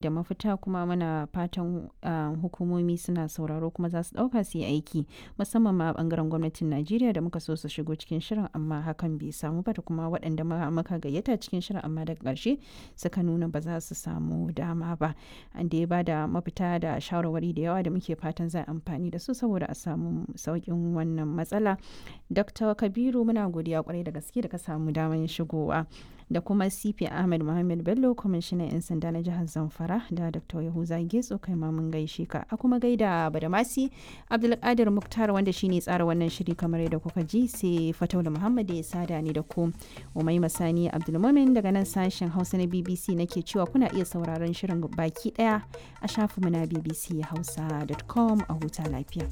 Da mafita kuma muna fatan hukumomi suna sauraro kuma za su ɗauka su yi aiki, musamman ma a ɓangaren gwamnatin Najeriya da muka so su shigo cikin shirin amma hakan bai samu ba, da kuma waɗanda muka gayyata cikin shirin amma daga ƙarshe suka nuna ba za su samu dama ba. An da ya ba da mafita da shawarwari da yawa da muke fatan za a amfani da su saboda a samu sauƙin wannan matsala. Dr. Kabiru, muna godiya kwarai da gaske da ka samu damar shigowa. Da kuma CP Ahmed Muhammad Bello, kwamishinan 'yan sanda na jihar Zamfara, da Dr. Yahuza Getso, kai ma mun gaishe ka. A kuma gaida Badamasi Abdulkadir Muktar wanda shine tsara wannan shiri kamar yadda kuka ji, sai Fataula Muhammad ya sada ni da ku. Umaima Sani Abdulmumin daga nan sashen Hausa na BBC nake cewa kuna iya sauraron shirin baki daya a shafinmu na bbchausa.com. A huta lafiya.